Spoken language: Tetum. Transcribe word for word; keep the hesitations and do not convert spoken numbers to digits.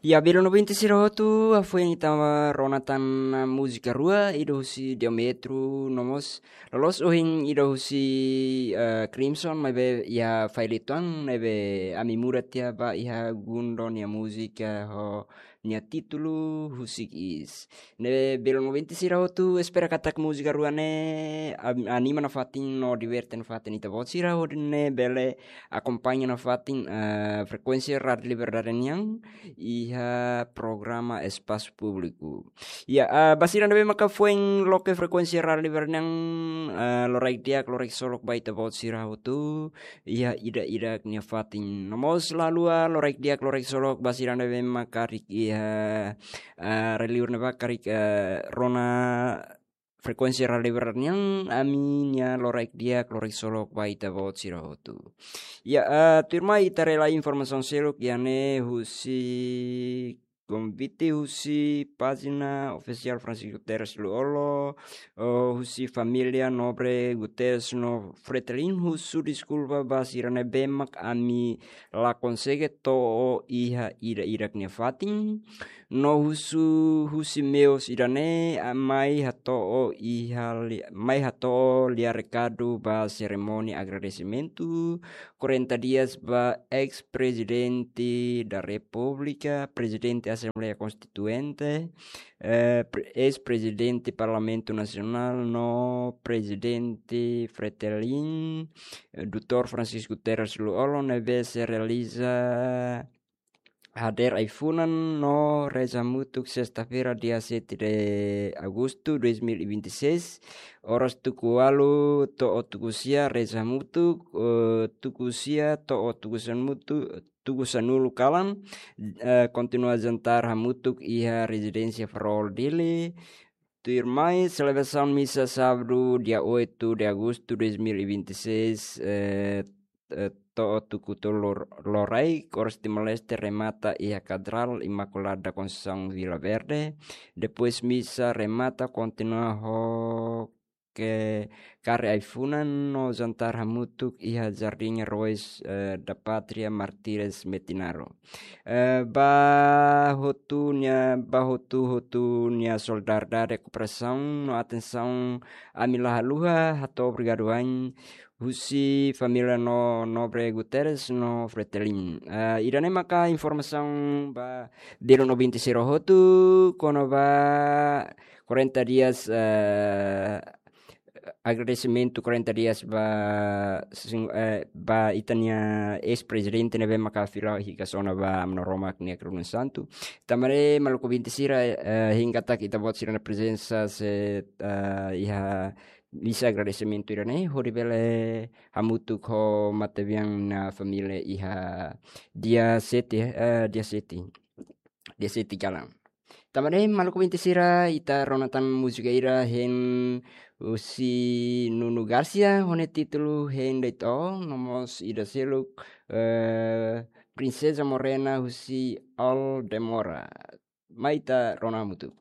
Ya, belun ouvinte sira hotu, hafoin ita rona tan múzika rua, ida husi Diamôrfo, no mós loloos ohin ida husi, eh, Crimson, maibé iha faixa uitoan, ne'ebé ami muda tiha ba iha Gundo nia múzika ho nia títulu Husik Is. Ne'ebé belun ouvinte sira hotu, espera katak múzika rua ne'e am-, anima nafatin no diverte nafatin ita-boot sira hodi nune'e bele akompaña nafatin, eh, frekuénsia Rádiu Liberdade nian iha programa Espasu Públiku. Ya, eh, ba sira ne'ebé maka foin loke frekuénsia Rádiu Liberdade nian, eh, loraik di'ak, loraik ksolok ba ita-boot sira hotu iha ida-idak nia fatin. No mós la haluha loraik di'ak, loraik ksolok ba sira ne'ebé maka karik iha, eh, rai-liur ne'ebá karik, eh, rona frekuénsia Rádiu Liberdade nian, ami-nia loraik di'ak, loraik ksolok ba ita-boot sira hotu. Ya, eh, tuirmai ita relai informasaun seluk iha ne'e husi konvite husi pájina ofisiál Francisco Guterres Lú-Olo, eh, husi família nobre Guterres no Fretilin husu deskulpa ba sira ne'ebé mak ami la konsege to'o iha ida-idak nia fatin, no husu husi meius ida-ne'e, ah, mai hato'o iha li-, mai hato'o lia rekadu ba serimónia agradesimentu quarenta dias ba eis-Prezidente da Repúblika, Prezidente Asembleia Konstituinte, eh, pre-, eis-Prezidente Parlamentu Nasionál no Prezidente Fretilin, eh, doutór Francisco Guterres Lú-Olo ne'ebé sei realiza hadeer ai-funan no reza hamutuk sesta-feira, dia sete de agosto dois mil e vinte e seis, oras tuku ualu to'o tuku sia reza hamutuk, eh, tuku sia to'o tuku sanulu, tuku sanulu kalan, eh, kontinua jantar hamutuk iha rezidénsia Farol Dili. Tuirmai selebrasaun misa sábadu, dia oito de agosto dois mil e vinte e seis, eh, eh, to'o tuku tolu lor-, loraik, oras Timor-Leste remata iha Katedrál Imakulada Konseisaun Vila Verde. Depois misa remata kontinua ho ke kari ai-funan no jantar hamutuk iha Jardín Heróis, eh, da Pátria Martires Metinaro. Eh, ba hotu nia, ba hotu-hotu nia solidariedade, kooperasaun no atensaun ami la haluha hato'o obrigadu wa'in husi família no nobre Guterres no Fretilin. Eh, ida-ne'e maka informasaun ba belun ouvinte sira hotu kona-ba quarenta dias, eh, agradesimentu quarenta dias ba sing-, eh, ba ita-nia eis-prezidente ne'ebé maka fila hikas ona ba Aman Maromak nia kerunus santu. Tanba ne'e maluk ouvinte sira, eh, hein katak ita-boot sira-nia prezensa sei, eh, iha misa agradesimentu ida-ne'e hodi bele hamutuk ho matebian nia família iha dia sete, eh, dia sete. Dia sete kalan. Tanba ne'e maluk ouvinte sira, ita rona tan múzika ida hein husi Nuno Garcia, ho nia títulu Hein De'it Ó, no mós ida seluk, eh, Princesa Morena husi Aldemora. Mai ita rona hamutuk.